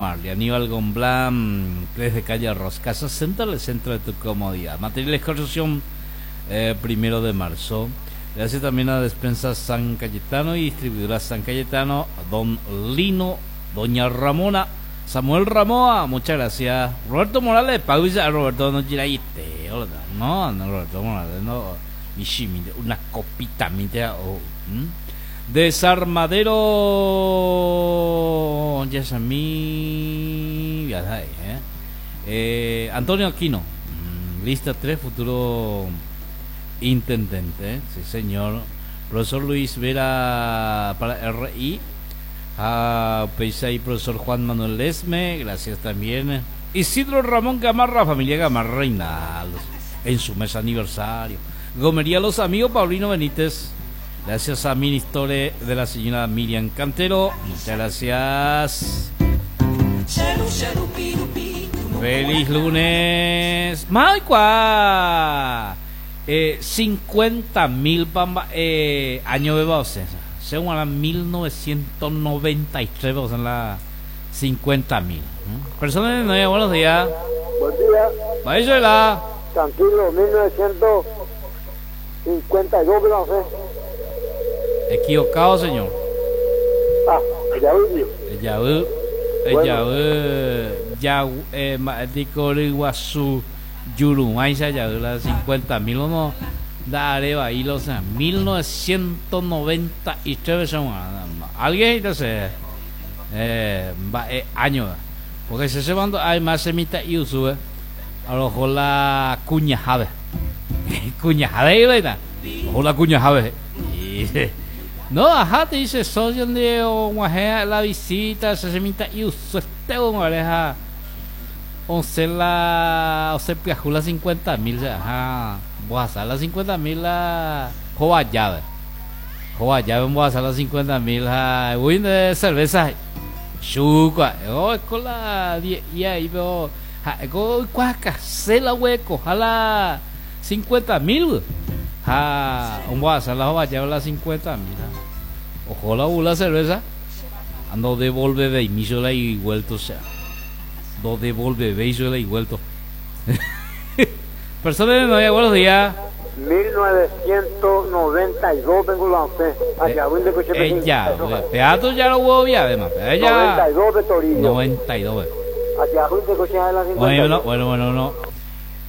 Marley, Aníbal Gomblán, desde calle Arroz, Casa Central, el centro de tu comodidad. Materiales construcción, 1 de marzo. Gracias también a Despensa San Cayetano y Distribuidora San Cayetano, Don Lino, Doña Ramona, Samuel Ramoa, muchas gracias. Roberto Morales, pausa, Roberto, no no, no, Roberto Morales, no, una copita, o, Desarmadero Yasamí, ya sabes, ¿eh? Antonio Aquino, lista 3, futuro intendente, sí señor. Profesor Luis Vera para RI, a y profesor Juan Manuel Lesme, gracias también. Isidro Ramón Gamarra, familia Gamarra Reinaldos, en su mes aniversario. Gomería Los Amigos, Paulino Benítez. Gracias a Ministore de la señora Miriam Cantero. Muchas gracias. Feliz lunes. Maicua. 50.000 pamba, año de base. Según la 1993, o sea, la 50.000. Personas de nueve, buenos días. Buen día. Vaya, Tranquilo, 1952, no sé. Equivocado, señor. Ah, ya vi. Ya vi. Ya vi. Ya, dico, Iguazú, Yurumay, ya vi la 50.000, no. Dale, va, y los, 1993, alguien entonces, va, año, porque se mando, además se mita y sube, a lo mejor la cuña jave, cuña jave, ¿verdad? Ojo la cuña jave. No, ajá, te dice, soy donde o la visita, se mita y uso este oreja, once la, o se piajó la 50.000, ajá, voy a hacer la 50.000 la joa llave, joa llave, voy a hacer la 50.000, ja, voy de cerveza, chuca, oh, es con la 10, y ahí veo, ja, con cuaca, se la hueco, jala 50.000, ja, voy a hacer la joa llave la 50.000, ja. Ojo la bula cerveza, ando devolve de inicio la y vuelto, o sea, do devolve de la y vuelto. Persona de nueve, buenos días. 1992 vengo la fe. Allá voy de coche Ya, peato ya lo voy a además. Ya. 92 de Torino. 92. Allá voy de coche de la 52. Bueno, bueno, bueno, no.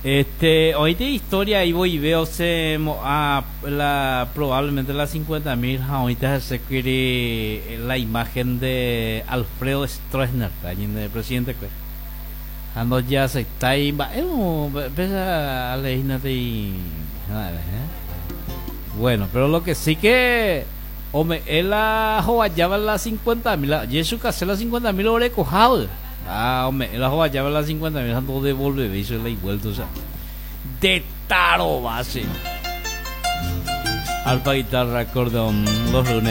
Hoy de historia ahí voy y veo se mo, a, la, probablemente la 50.000, ahorita se quiere la imagen de Alfredo Stroessner, alguien de presidente, pues. Ando ya se está ahí, va, empieza a leer y, a ver. Bueno, pero lo que sí que, hombre, él la joyaba la 50.000, la, Jesús Casé la 50.000 lo recojado. Ah, hombre, la joya lleva las 50.000, ando devuelve, y se la vuelto, o sea, de taro base. Alpa guitarra, acordeón, los lunes.